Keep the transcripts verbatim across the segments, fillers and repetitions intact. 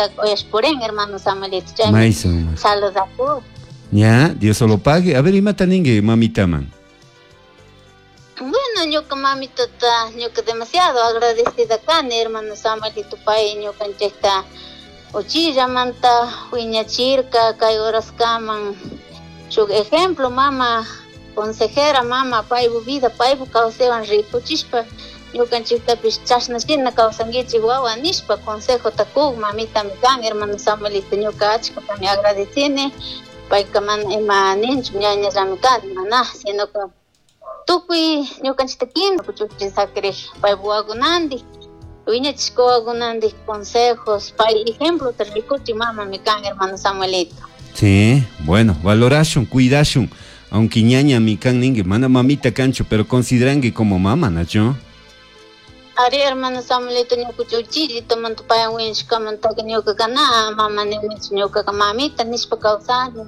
mamita uyash purin hermano Samuelito chaymi saludaku. Ya, Dios solo pague. A ver, imata ningue mamita man. Bueno, ñuka mamitata ñuka demasiado agradecida kani hermano Samuelito pay ñukanchikta uchillamanta wiñachirka kay horaskaman shuk ejemplo mama consejera mama paypu vida paypu kawsaywan rikuchishpa ñukanchiktapish chashnashina kawsankichik wawa nishpa consejota kuk mamitami kan hermano Samuelito ñuka achkatami agradecini payka mana ima ninchu ñañallami kani mana sino que tukuy ñukanchikta kimsa kuchuchin sakirik paypu wakunantik wiñachishka wakunantik consejos pay ejemplota rikuchik mamami kan hermano Samuelito. Sí, bueno, valorashun, cuidashun, aunque ñaña mi kan ningue, mana mamita cancho, pero considerangue como mama, ¿nacho? Ari hermano Samuelito ñuka uchillito manta payan wiñashkamantaka ñuka kana mama ninichu ñukaka mamita nishpa kawsani.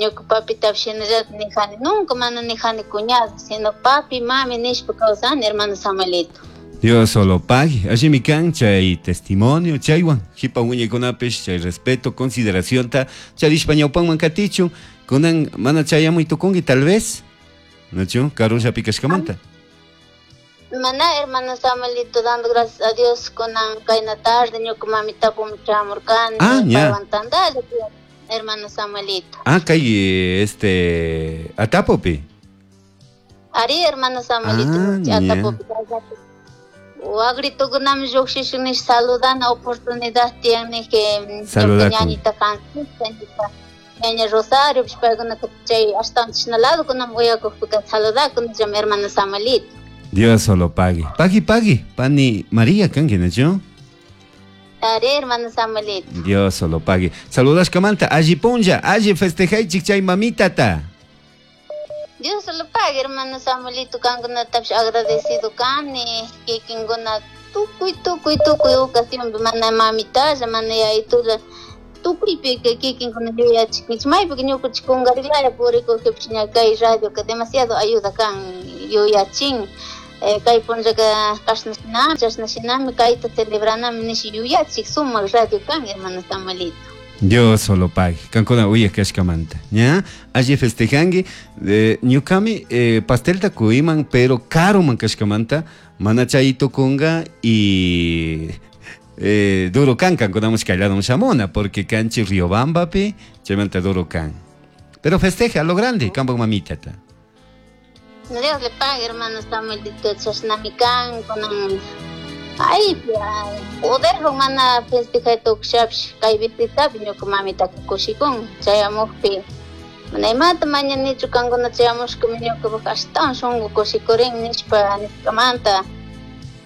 Ñuka papitapish shinallata nijani nunca mana nijani cuñado, sino papi, mami nishpa kawsani hermano Samuelito. Dios solo pague. Allí mi can, chay testimonio, chaywan, jipa wiñaykunapish, chay respeto, consideración ta, charishpa ñawpanman katichu, kunan mana chayamuy tukunki tal vez, ¿nachu? Karulla pikashkamanta. Mana hermano Samuelito, dando gracias a Dios kunan kayna tarde ñuka mamitapu chamurkani, ah, ya. Paywan tantalla, hermano Samuelito. Ah, kay este Atapopi. Ari hermano Samuelito, ah, Atapopi. Wagritukunami lluqshishun nish saludana oportunidad tiyan que ñañita Francisca, ñaña Rosario, paykunaka chay ashtawan chishnalado kunami uyakukpika saludakunillami hermano Samuelito. Dios solo pague. Pague, pague. Pani María kanki, ¿nacho? Ari hermano Samuelito. Dios solo pague. Saludas kamanta, alli punlla, alli festejaychik chay mamitata. Dios solo pague, hermano Samuelito, kankunatapish agradecido kani, kikinkuna tukuy tukuy tukuy ocasionpi mana mamitalla, mana yayitulla, tukuypika kikinkuna yuyachikninchik, maypika ñukanchik kunkarilaya purikukpish ña kay radioka demasiado ayuda kan yuyachin, eh, kay punllaka kashnashinami, chashnashinami, kayta celebranami nish yuyachik sumak radio kan, hermano Samuelito. Dios solo pague. Kankuna uyaj kashkamanta. ¿Ya? Alli festejangi. Eh, ñukami eh, pastelta kuiman, pero caro man kashkamanta. Mana chayito kunga y eh, duro kan kankunamos kaylado shamuna, porque kanchi Riobambapi, chaymanta duro kan. Pero festeja a lo grande, kampak mamitata. Dios le pague, hermano Samuelito, chashnami kan, kunan. Ay, poder mana festejay tukshapish kay visitapi ñuka mamitaka kushikun chayamukpi mana imata mañanichu kankuna chayamushkami ñukapak ashtawan shunku kushikurin nishpa nishkamanta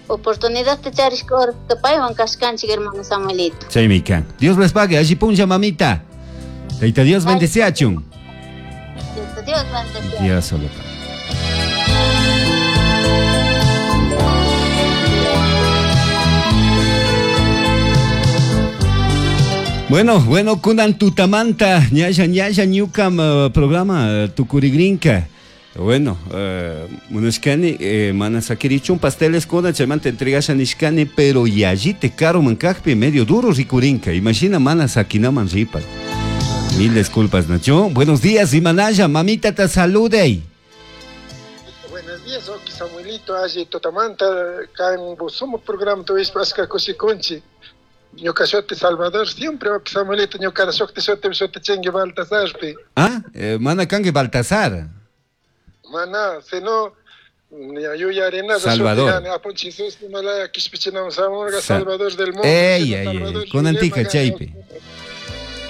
oportunidadta charishka horaska paywan kashkanchik hermano Samuelito. Chaymi kan. Dios les pague, alli punlla mamita. Tayta Dios bendeciachun. Dios bendeciachun. Dios solo pague. Bueno, bueno, kunan tutamanta, ñalla, ñalla, ñukam uh, programa uh, tukurigrinka. Bueno, uh, munashkani, eh, mana sakirichun pasteles kuna, chaymanta entregasha nishkani, pero yallite caro mankajpi, medio duro rikurinka. Imagina mana sakinaman ripas. Mil disculpas, Nacho. Buenos días, Imanaya, mamita te salude. Buenos días, Oki Samuelito, alli tutamanta, kan busumo programa tuishpa ashka kushikunchi. Ñuka shuti Salvador, siempre Oki Samuelito, ñuka shuti shuti shuti chingue Baltasarpi. Ah, eh, mana kangue Baltasar. Mana, sino yuyarina Salvador. Salvador del mundo. Ey, ey, ey, con antica chaypi.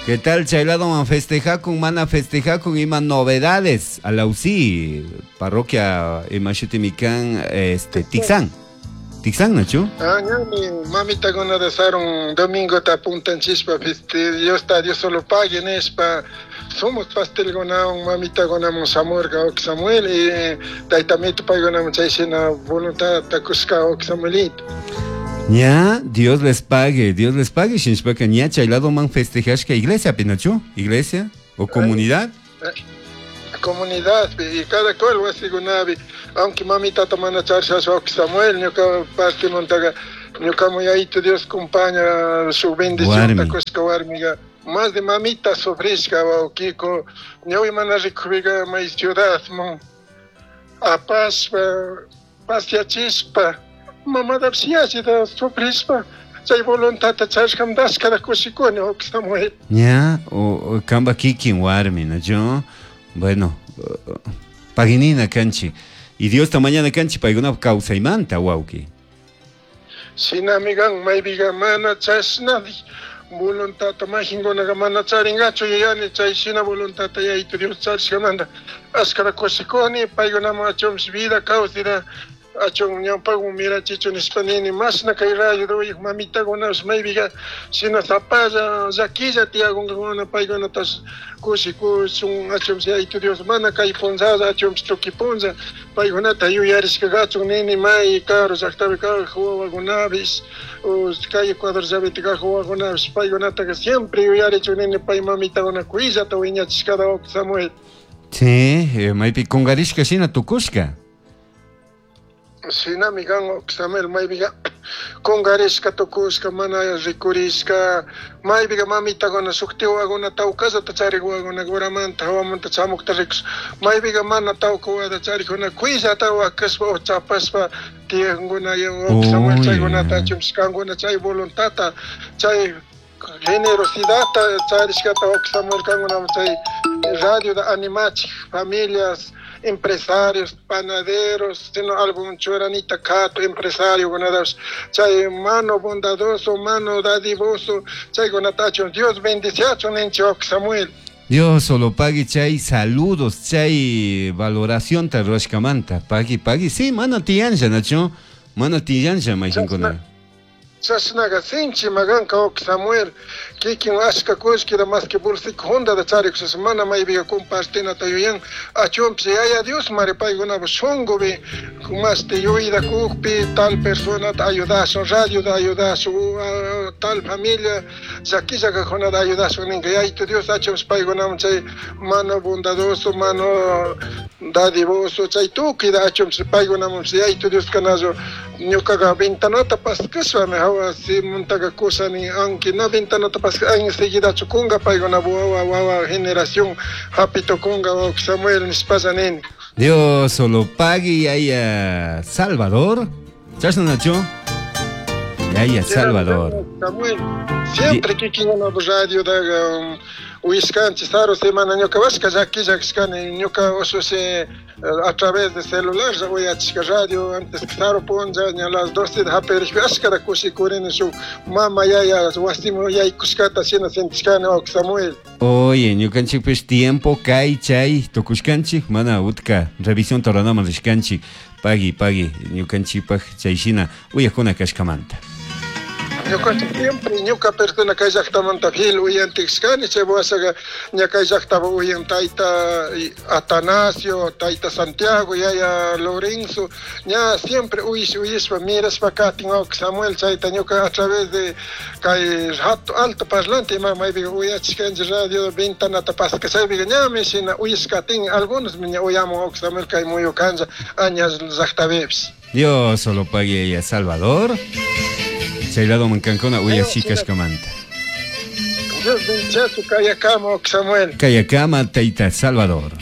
¿Qué tal, chaylado man festeja con mana festeja con ima novedades a la U C I, parroquia Imashutimicán, este, Tixán. Tixán, Nacho? Ah, ñami, mamita gona de un domingo ta puntan chispa, viste, Dios está, Dios solo pague, nespa. Somos pastel gona, un mamita gona mon samurga ok Samuel y taitamito pague gona mon chaishina voluntad takusca ok Samuelito. Ya, Dios les pague, Dios les pague, shinshpaka ña chaylado man festejashka iglesia, Pinacho, iglesia o comunidad. Comunidad, y cada cual wasi gunabi, aunque mamita tamana charsha ok Samuel, ñuka parte montaga Ñukamu Yayitu Dios compaña su bendición kushka warmiga más de mamita sufrishka wawkiko ñawi mana rikupiga may ciudad mon apashpa pasiachishpa mamadapish yallita sufrishpa chay voluntadta charishkamanta ashkata kushikuni wawki Samuel. Ña o kamba kikin warmi, ¿no? Bueno, paginina kanchik y Diosta mañana kanchik paykunapa kawsaymanta wawki. Shinami kan maypiga mana chashna voluntadta majinkunaqa mana charinkachu yuyani chay shina voluntadta Yayitu Dios charishkamanta ashkata kushikuni paykunaman achunpish vida kawsayta achun ñawpakman mirachichu nishpa nini mashna kay radio uyuk mamitakunapish maypiga shina sapalla llakilla tiyakunkakuna paykunatash kushikushun achunpish Yayitu Dios mana kay punllalla achunpish tukuy punlla paykunata yuyarishka kachun nini may karu llaktapi kaj wawakunapish kay Ecuador llapita kaj wawakunapish paykunataka siempre yuyarichun nini pay mamitakuna kuyllata wiñachishkata wawki Samuel. Sí, maypi kunkarishka shina tukushka. Shinami kan wawki Samuel maypiga kunkarishka tukushka mana rikurishka maypiga mamitakuna shukti wawakuna tawkallata charik wawakuna uramanta hawamanta chamukta rikush maypiga mana tawka wawata charikuna kuyllata wakashpa o chapashpa tiyankuna wawki Samuel chaykunata achunpish kankuna chay voluntadta chay generosidadta charishkata wawki Samuel kankunaman chay radio animachik familias empresarios, panaderos, sino algún churanita kato empresario kunadash chay mano bondadoso, mano dadivoso, chay kunatacho Dios bendiciacho ninchi wawki Samuel. Dios solo pagui chay saludos, chay valoración ta ruashkamanta, pagui pagui, sí, mana tiyanlla nacho, mana tiyanlla majinkuna. Chashnaga sinchi maganka wawki Samuel kikin ashka kullkita maski bolsika juntata charikushas mana maypiga compartinata yuyan achunpish Yaya Dios mari paykunapak shunkupi mashti yuyta kukpi tal personata ayudashun radiota ayudashun tal familia llakilla kajkunata ayudashun ninka Yayitu Dios achunpish paykunaman chay mano bondadoso mano dadivoso chay tukuyta achunpish paykunamanpish Yayitu Dios kanachu ñukaqa ventanata paskashpami hawa simuntaqa kusani aunque na ventanata paska enseguidachu kunka paykuna wawa wawa generación hapitukunka wawki Samuel nishpalla nini. Dios solo pagui yaya Salvador. Chashna nacho? Yaya Salvador. Samuel siempre kikinkunapa radiotaqa uyishkanchik saru semana ñuka washka llakilla kashkani ñuka ushushi a través de celular uyachishka radio antes saru punlla ña las doce hapirishpa ashkata kushikurini shuk mama yaya wasiman yaykushkata shina sentishkani wawki Samuel. Oye, ñukanchikpish tiempo kay chay tukushkanchik mana utka revisión toranaman rishkanchik pagui pagui ñukanchikpak chay shina uyakuna kashkamanta. Ñuka siempre ñuka persona kay llaktamanta fiel uyantikshkani chay washaqa ña kay llaktapa uyan tayta Atanasio, tayta Santiago, yaya Lorenzo, ña siempre uyish uyishpa mirashpa katin wawki Samuel chayta ñuka a través de kay alto parlante ima maypiqa uyachishkanchik radio ventanata paska chaypiqa ñami shina uyishkatin algunos ña uyamun wawki Samuel kay muyukanlla aña llaktapipish. Dios solo pague a Salvador. Chay lado mankankuna uyashikashkamanta. Dios bendiga tu Kayakama, Samuel. Kayakama, Taita Salvador.